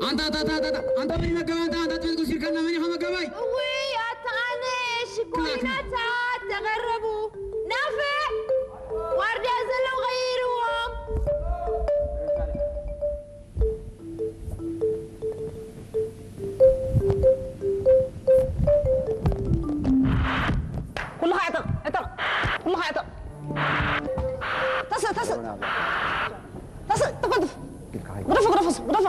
ኣንታ ኣንታ ኣንታ ኣንታ ኣንታ መን እዩ መጋባይ? ኣንታ ኣንታ ትብል ጉሲርካና መን ኢኻ መጋባይ? እውይ ኣታ ኣነ ሽኮሪናታት ተቐረቡ ናፍዕ ዋርድያ ዘለዉ ቀይርዎም። ኩልኻ ዕጠቕ ዕጠቕ ኩልኻ ዕጠቕ ተስእ ተስእ ተስእ ተቐልጥፍ ግደፎ ግደፎ ግደፎ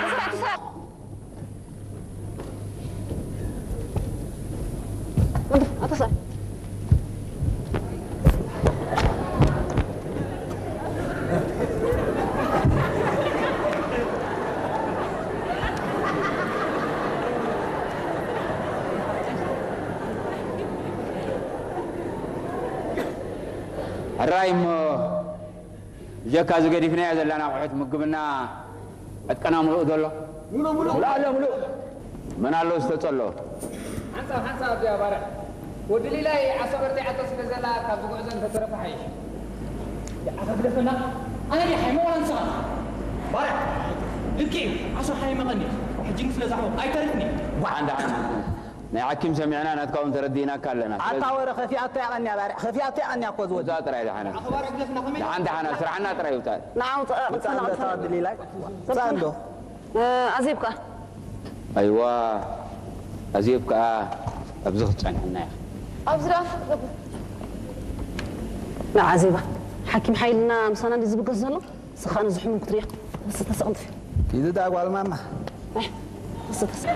ተስራዕ ተስራዕ ሕራይ እሞ ብጀካ እዚ ገዲፍናዮ ዘለና ኣቑሑት ምግብና ዕጥቀና ምሉእ ዶ ኣሎ? ምሉእ ኣሎ ምሉእ። መን ኣሎ ዝተጸሎ? ሓንሳብ ሓንሳብ እዚኣ ባርዕ። ወዲ ሊላይ ዓሳ በርቲዓቶ ስለ ዘላ ካብዚ ጉዕዞ እንተተረፈ ሓይሽ። ደኣ ከግደፈና ኣነ ድየ ሓይመ ዋላ ንስኻ? ባርዕ ልክዕ እዩ ዓሳ ሓይመቐኒ ሕጂ ግን ስለ ዝዓወት ኣይተርፍን እዩ። ደሓን ደሓን ናይ ሓኪም ሰሚዕና ናትካ እውን ተረዲእናካ ኣለና። ኣታ ወረ ከፊኣቶ ያቐንያ ባርዕ ከፊኣቶ ያቐንያ እኮ ዝወዲ። ውፃእ ጥራይ ደሓና። ደሓን ደሓና ስራሕና ጥራይ ውፃእ። ንዓ ውፃእ ቅፅል ኣንዶ። ኣዜብ ከኣ ኣይዋ ኣዜብ ከኣ ኣብዚ ክትፀንሐና ኢኻ። ኣብዚ ደኣ ንዓ ኣዜባ ሓኪም ሓይልና ምሳና እንዲ ዝብገስ ዘሎ ስኻ ነዚ ሕሙም ክትሪኦ ተስእ ተስእ ቅልጥፊ። ኪዲ ደኣ ጓል ማማ። ተስእ ተስእ።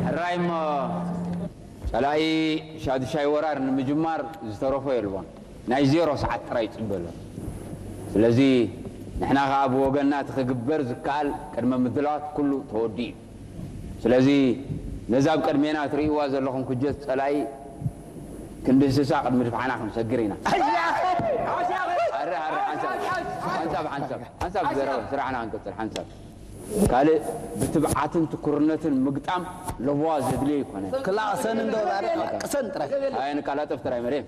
ሕራይ እሞ ጸላኢ ሻዱሻይ ወራር ንምጅማር ዝተረፎ የልቦን። ናይ ዜሮ ሰዓት ጥራይ ይጽበ ኣሎ። ስለዚ ንሕና ከኣ ብወገንና እቲ ክግበር ዝከኣል ቅድመ ምድላዋት ኩሉ ተወዲኡ እዩ። ስለዚ ነዛ ኣብ ቅድሜና ትርእይዋ ዘለኹም ክጀት ጸላኢ ክንድህስሳ ቅድሚ ድፍዓና ክንሰግር ኢና። ኣረ ኣረ ሓንሳብ ሓንሳብ ሓንሳብ ሓንሳብ ዘረባ ስራሕና ክንቅጽል ሓንሳብ ካልእ ብትብዓትን ትኩርነትን ምግጣም ለበዋ ዘድልዮ ኣይኮነን። ክላእ ቅሰን እንዶ ቅሰን ጥራይ። ኣየንቃላጥፍ ጥራይ መሬም።